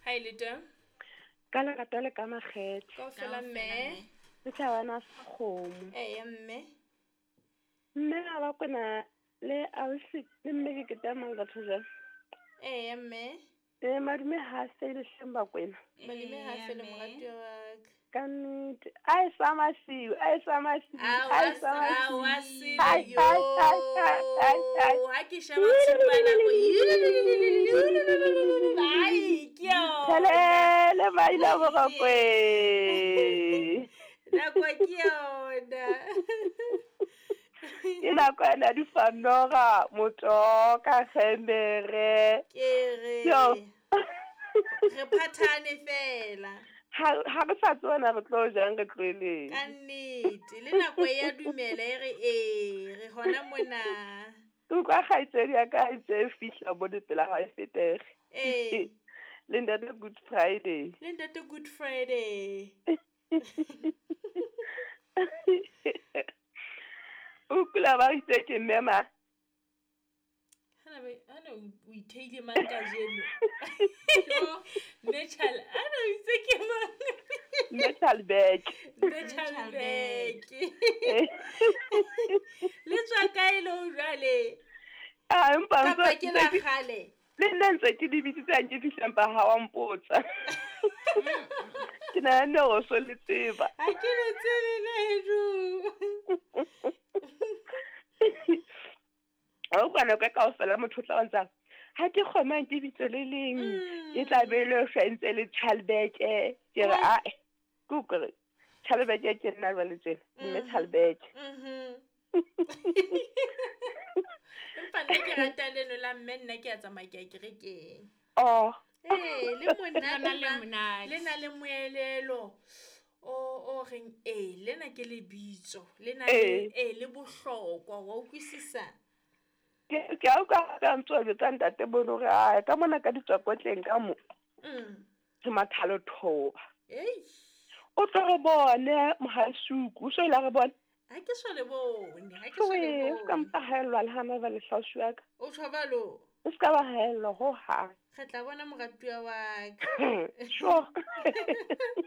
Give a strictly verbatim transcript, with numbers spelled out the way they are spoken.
Ha e le teng? Ka lerato le ka makgethe. Kaofela mme. Le tlhabana sa kgomo. Eya mme. Mme ga ba kwena le ausi le mme ke ke mang batho jwang? Eya mme. E madume ha se le hleng ba kwena. Madume ha se le moratuwa wa ka. Ka nnete. A e sa masiu, a e sa masiu, a e sa masiu. Awa sile yo. Ha ke sheba tshupa nako. Ai, ke yona. Thelele maila borokwe. Nako ke yona. Ke nako ena di fanora motoka gemere. Ke re. Re phathane fela. Ha ha re sa tsona re tlo jang re tloeleng. Ka nnete le nako ya dumela e re e re hona mona. Utlwa kgaitsedi ya ka e tse fihla mo dipela ha e fetege. Eh. Le ntate Good Friday. Le ntate Good Friday. O kula ba itse ke mema. Hana be hana o itheile mang ka jeno. Nechal ana o itse ke mang? Nechal back. Nechal back. Le tswa kae lo jwale? Ah empa ntse ke la kgale. Le nna ntse ke di bitsitse ke fihlang ba ha wa mpotsa. Ke nahana hore o so le tseba. Ha ke le tsebe ledu. O kwana ka kaofela motho o tla ntsa ha ke kgona ke bitso le leng e tla be le fentse le Chalbeke ke re a ke kore Chalbeke ke nna jwale tsena mme Chalbeke. Mhm. Empa nna ke rata leno la mme nna ke a tsamaya ke a kerekeng. Oh. Eh le monate le na le moelelo o o reng eh lena ke lebitso le na le eh le bohlokwa wa utlwisisa. Ke ke a utlwa ka ntso jwetsa ntate bono re a ka mona ka ditswakotleng ka mo. Mm. Ke mathalo thoba. Ei. O tlo re bone mohasuku o so ile re bone. Ha ke so le bone, ha ke so le bone. Ka mpa haellwa le hana ba le hlaosu ya ka. O tshwabalo. O ska ba haellwa ho hang. Re tla bona moratuwa wa ka. Sure.